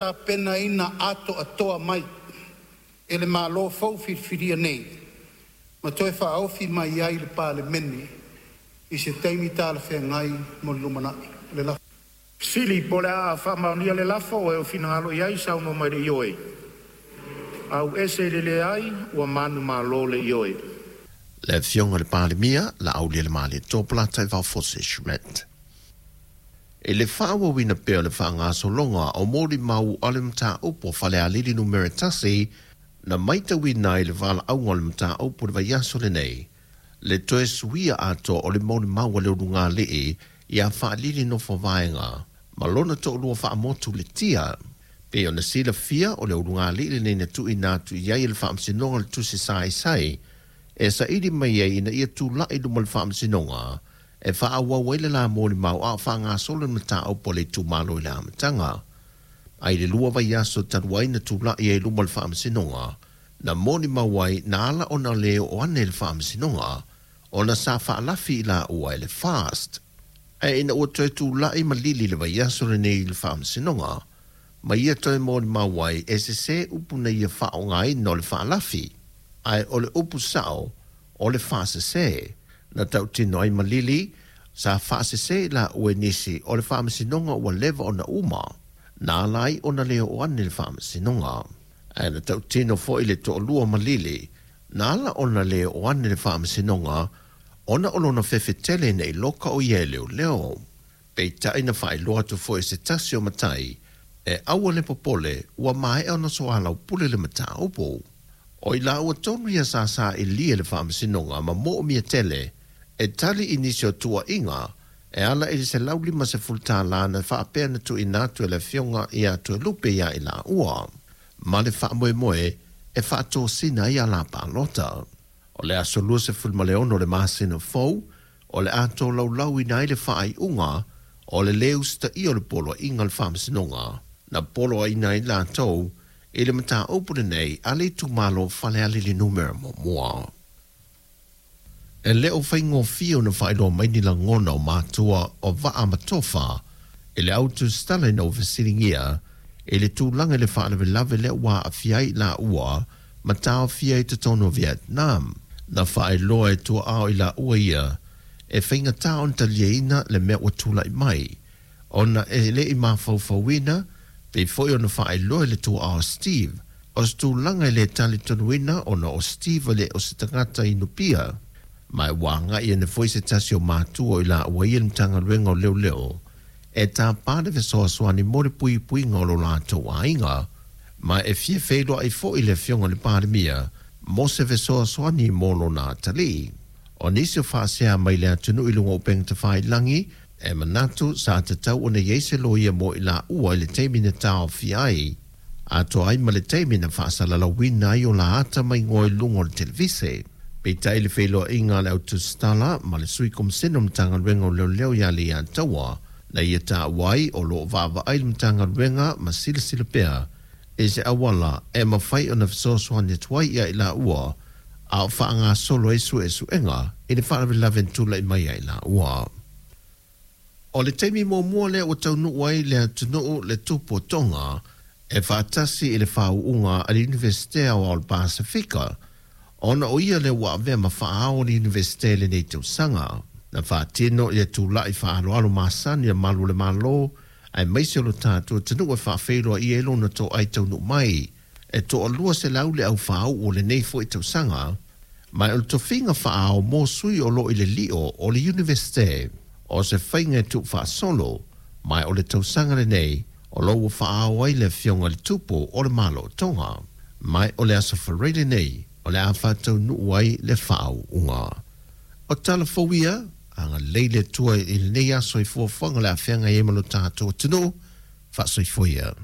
Tapenaina atoatoa mai e le Malo fou filifilia nei ma toe faaofi mai ai i le Palemene i se taimi talafeagai mo le lumanai. O le lafo lea. O le a faamaonia le lafo, o e ua finagalo ai saunoa mai i le ioe, ae ua manumalo le ioe. Le Afioga i le Palemia, Laaulialemalietoa Polataivao Fosi Schmidt. I le faaauauina pea o le faagasologa o molimau a le mataupu o Falealili Nu.1, na matauina ai le valaauga o le mataupu i le vaiaso lenei, le toe suia atoa o le molimau a le ulugalii ia Faalili Nofovaega ma lona toalua faamotu Letia. Pei ona silafia, o le ulugalii lenei na tuuina atu i ai e le Faamasinoga le tusi saisai e saili mai ai ina ia tulai i luma o le Faamasinoga e faaauau ai le la molimau a o faagasolo le mataupu a le itumalo i le amataga. Ae i le 2 vaiaso talu ai na tulai ai i luma o le Faamasinoga, na molimau ai na ala ona le oo ane i le Faamasinoga ona sa faalafi i laua e le FAST. Ae ina ua toe tulai ma lili i le vaiaso lenei i le Faamasinoga, ma ia toe molimau ai e sesē upu na ia faaaogaina o le faalafi, ae o le upu sao o le faasese. Na tautino ai Malili, sa faasese i laua e nisi o le faamasinoga ua leva ona uma, na ala ai ona le oo ane i le faamasinoga. Ae na tautino foi le toalua o Malili, na ala ona le oo ane i le faamasinoga ona o lona fefe tele ina i loka o ia e leoleo. Peitai na faailoa atu foi e se tasi o matai, e aua le popole ua maea ona soalaupule le mataupu. O i laua tonu ia sa sailia e le Faamasinoga ma moomia tele e tali i nisi o tuuaiga e ala i le $150 na faapea na tuuina atu e le Afioga ia Toelupe ia i laua, ma le faamoemoe e faatosina ai ala palota. O le aso 26 o le masina fou o le a tolaulauina ai le faaiuga o le lē usitaia o le poloaiga a le Faamasinoga na poloaiina ai latou i le mataupu lenei a le itumalo o Falealili Numera 1. E le o faigofie ona faailoa mai ni lagona o matua o Vaa ma Tofa i le au tusitala ina ua fesiligia i le tulaga i le faalavelave lea ua aafia ai i laua ma taofia ai i totonu o Vietnam. Na faailoa e tuaa o i laua ia e faigata ona taliaina le mea ua tulai mai ona e le i mafaufauina, pei foi ona faailoa e le tuaa o Steve, o se tulaga e le talitonuina ona o Steve e le o se tagata inupia. Ma ua agai ane foi se tasi o matua o i laua ia i le Matagaluega o Leoleo e tapa le fesoasoani mo le puipuiga o lo latou aiga, ma e fia feiloai foi le Afioga i le Palemia mo se fesoasoani mo lona atalii. O nisi o faasea mai le atunuu i luga o upega tafailagi, e manatu sa tatau ona i ai se loia mo i laua i le taimi na taofia ai, atoa ai ma le taimi na faasalalauina ai o la ata ma igoa i luga o le televise. Peitai i le feiloaiga a le au tusitala ma le Sui Komisene o le Matagaluega o Leoleo ia Leiataua, na ia taua ai o lo o vaavaai le Matagaluega ma silasila pea i se auala e mafai ona fesoasoani atu ai ia i laua a o faagasolo ai suesuega i le faalavelave na tulai mai ia i laua. O le taimi muamua lea ua taunuu ai le atunuu le Tupu o Tonga e faatasi i le faauuga a le Iunivesite Aoao o le Pasefika, ona o ia lea ua avea ma faaao o le Iunivesite i lenei tausaga. Na faatino ia tula'i faaaloalo masani a malu o le Malo aemaise o lo tatou atunuu e faafeiloai ai lona toai taunuu mai. E toalua selau le au faauu o lenei foi tausaga, ma o le tofiga faaao mo sui o lo o i le lio o le Iunivesite. O se faiga e tuufaasolo, ma o le tausaga lenei o lo o ua faaao ai le Afioga i le Tupu o le Malo o Tonga. Ma o le aso Faraile lenei o le a faataunuu ai le faauuga. O tala fou ia, agalelei le Atua i lenei aso i fuafuaga o le a feagai ai ma lo tatou atunuu. Faasoifua ia.